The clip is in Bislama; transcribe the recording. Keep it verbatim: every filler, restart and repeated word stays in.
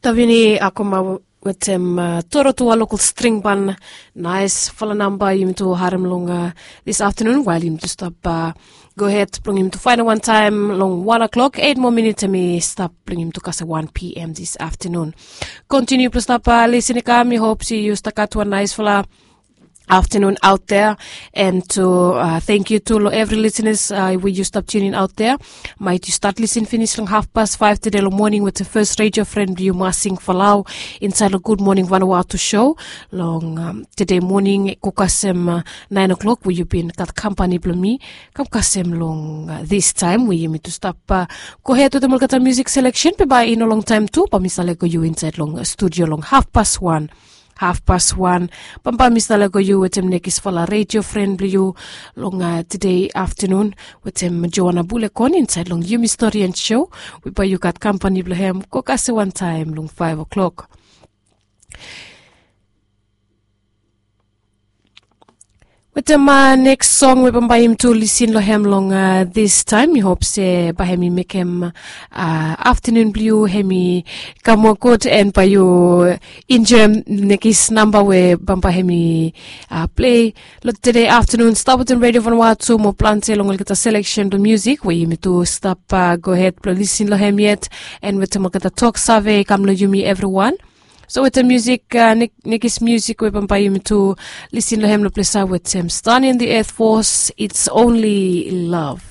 Tavini akoma wetem toro tu a lokal string ban. Nais fala namba yumi tu harem long this afternoon wael yumi tu stap go ahed blong yumi tu fainal wan taem long wan o'clock eit moa minit em i stap blong yumi tu kasem wan p m this afternoon. Kontiniu blong stap lisin i kam i hop se yu stap gat wan nais fala afternoon out there. And to thank you tu long evri listeners we yu stap tunin out there. Maet yu stat lisin finis long hafpas faef tede long moning wetem fes radio fren blong yu masing falau insaed long gud moning vanawatu show long tede moning go kasem naen o'clock we yu bin gat kampani blong mi kam kasem long this taem we yumi tu stap go ahed wetem olgeta musik seleksen be bae i no longtaem tu bae mi save lego yu insaed long studio long hafpas wan. Hafpas wan bambae mi save lego yu wetem nekis fala radio fren blong yu long tede aftanun wetem joana bulekon insaed long yumi stori and show we bae yu gat kampani blong hem go kasem wan taem long faef o'clock. Wetem neks song we bambae yumi tu lisin long hem long this taem mi hop se bae hem i mekem aftanun blong yu hem i kam moa gud and bae yu enjoem nekis namba we bambae hem i plei long tede aftanun stap wetem radio vanawatu mo plante long olgeta seleksen blong musik we yumi tu stap go ahed blong lisin long hem yet. And wetem olgeta tok save i kam long yumi evriwan. So wetem musik nekis musik we bambae yumi tu lisin long hem long plesa wetem stan in the earth force it's only love.